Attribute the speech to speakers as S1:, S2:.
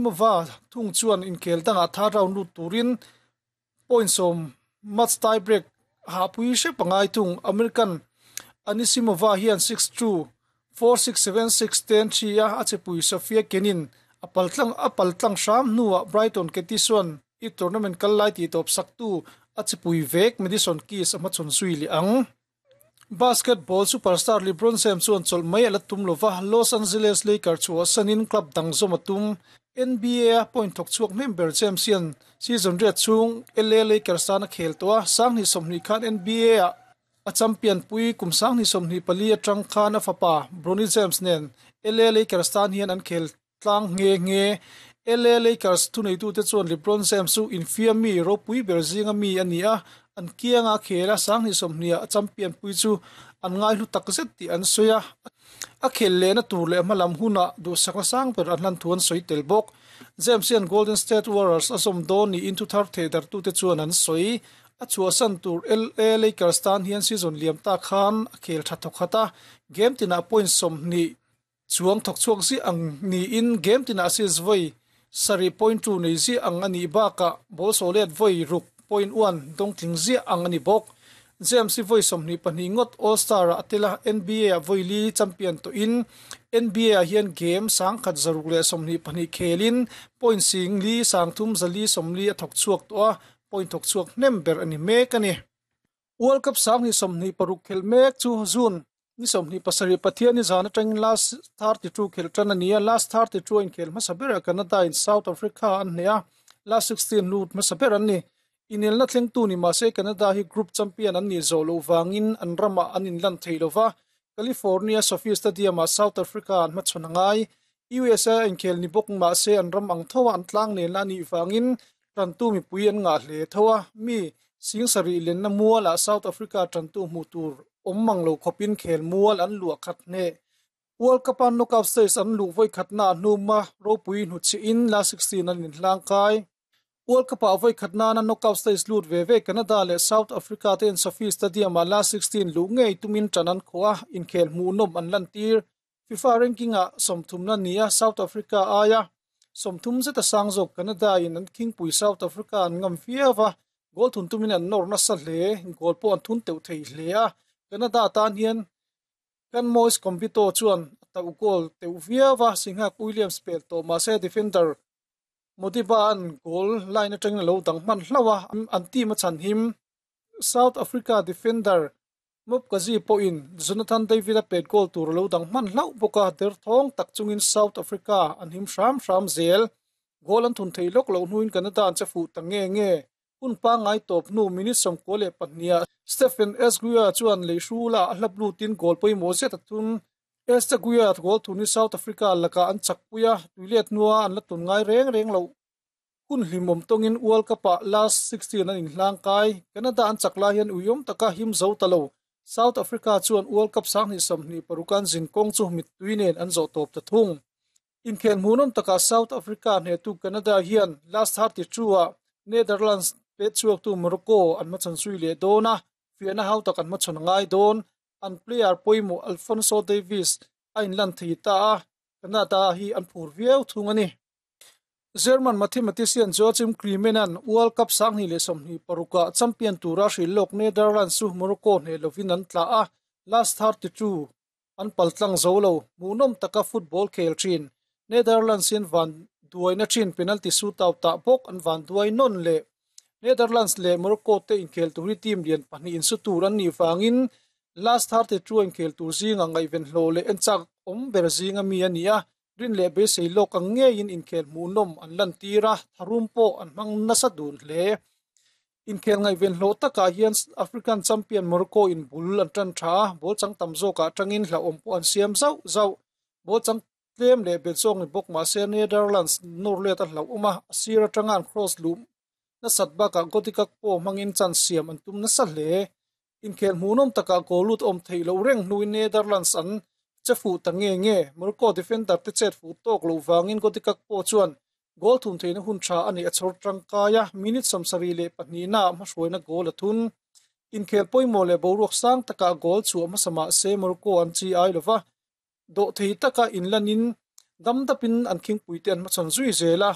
S1: Mova thung chuan inkhel dangah third round lut turin point sawm match tie break hahpui hrep a ngai thung. American Anisimova hian 6-2, 4-6, 7-6, 10-3 a a chepui Sofia Kenin a paltlang a paltlang hram hnuah Brighton Ketisuan i tournament kal lai tihtawp saktu a chepui vek Madison Keys a hmachhawn zui leh ang. Basketball superstar LeBron James chuan chawlh mai a la tum lo va, Los Angeles Lakers chhuahsanin club dang zawm a tum. NBA-a point thawk chhuak hnem ber James hian season riat chhung LA Lakers tan a khel tawh a, 2020 khan NBA-ah a champion pui kum 2024 atang khan a fapa Bronny James nen LA Lakers tan hian an khel tlang nghe nghe. LA Lakers thuneitute chuan LeBron James chu infiam mi ropui ber zinga mi a ni a, an kianga a khel a, 2020 a champion pui chu an ngaihlu takzet tih an sawi a. A khel lehna tur leh hmalam hunah duhsakna sang ber an hlan thu an sawi tel bawk. James hian Golden State Warriors a zawm dawn niin thuthar theidartute chuan an sawi. A chhuahsan tur LA Lakers tan hian season liam ta khan a khel tha thawkhat a, game tinah point 20 Chuang thawk chhuak ziah ang niin game tinah assist vawi sarih point two nei ziah ang a nih bakah ball sawhlet vawi ruk point one dawng tling ziah ang a ni bawk. James hi vawi 22 ngawt All Star ah a tel a, NBA ah vawi li champion tawhin NBA ah hian game 124 khelin point sing li 3 zali 40 a thawk chhuak tawh a, point thawk chhuak hnem ber a ni mek a ni. World Cup 2026 khelh mek chu June ni 27 Pathian ni zan atangin last 32 khelh tan a ni a, last 32 a inkhel hmasa berah Canada in South Africa an hneh a, last 16 lut hmasa ber an ni. Inelna thlengtu ni mahse Canada hi group champion an nih zawh loh vangin an ramah an inlan thei lova, California SoFi Stadium ah South Africa an hmachhawn a ngai. USA a inkhel ni bawk mahse an ram ang tho a an tlang nenna a nih vangin tantu mipui an ngah hle tho a, mi 7000 lenna mualah South Africa tantu hmuh tur awm mang lo khawpin khel mual an luah khat hneh. World Cup-a knockout stage an luh vawi khatna a hnuma ropui hnuchhihin last 16 an inhlang kai. World Cup-ah vawi khat nana knockout stage lut ve ve Canada leh South Africa te'n SoFi Stadium-ah last 16 luh ngei tumin ṭan an khawh a, inkhel hmuhnawm an lantir. FIFA ranking-ah sawmthumna ni a South Africa aia 30 zeta sang zawk Canada-in an khingpui South Africa an ngam viau a, goal thun tumin an nawr nasa hle, goal pawh an thun teuh thei hle a, Canada tan hian Kan Moise Combito chuan a tauh goal teuh viau a, Singhak Williams pel tawh mahse defender Modiba an goal line atangin a lo dang hman hlauh a, an team a chhan him. South Africa defender Mopkazi pawhin Jonathan David a pet goal tur a lo dang hman hlauh bawk a, derthawng tak chungin South Africa an him hram hram zel. Goal an thun thei lawk loh hnuin Canada an che fuh ta nge nge. Hun pangngai tawp hnu minute 92 ah Stephen Esguia chuan leihrula a hlap lutin goal pawimawh zet a thun. Estaguia goal thun hi South Africa lakah an chakpui a, tuilet hnua an la tun ngai reng reng loh. Hun hlimawm tawngin World Cup-ah last 16 an inhlang kai. Canada an chak lai hian uiawm taka him zo ta lo. South Africa chuan World Cup 2026 an zin kawng chu mittui nen an zawh tawp ta thung. Inkhel hmuhnawm takah South Africa hnehtu Canada hian last 32-ah Netherlands pet chhuaktu Morocco an hmachhawn zui leh dawn a, fiahna hau tak an hmachhawn a ngai dawn. An player pawimawh Alphonso Davies a inlan thei ta a, Canada hi an phur viau thung a ni. German mathematician Joachim Kriemann-a'n World Cup 2026-ah champion tura hrilh lawk Netherlands chu Morocco hneh lovin an tla a, last 32 an paltlang zo lo. Hmuhnawm taka football khel thin Netherlands hian van duaina thin penalty shootout ah bawk an van duai nawn leh. Netherlands leh Morocco te inkhel tur hi team lian pahnih insu tur an nih vangin last 32 a inkhel tur zinga ngaihven hlawh leh enchak awm ber zinga mi a ni a, rin leh beisei lawk ang ngeiin inkhel hmuhnawm an lantir a, tharum pawh an hmang nasa dun hle. Inkhel ngaihven hlawh takah hian African champion Morocco in bul an tan tha a, ball chang tam zawkah atangin hlauhawm pawh an siam zauh zauh. Ball chang tlem leh bet zawk ni bawk mahse Netherlands nawr let a hlauhawm a, a sir atanga an cross luh nasat bakah Cody Gakpo hmangin chance siam an tum nasa hle. Inkhel hmuhnawm takah goal lut awm theih loh reng hnuin Netherlands an che fuh ta nge nge. Morocco defender te chet fuh tawk loh vangin Cody Gakpo chuan goal thun theihna hun tha a neih a chhawr tangkai a, minute 72 ah hmahruaina goal a thun. Inkhel pawimawh leh boruak sang takah goal chhuah hmasa mahse Morocco an chi ai lova, dawhthei taka inlanin. Dam dapin an khingpuite an hmachhawn zui zel a.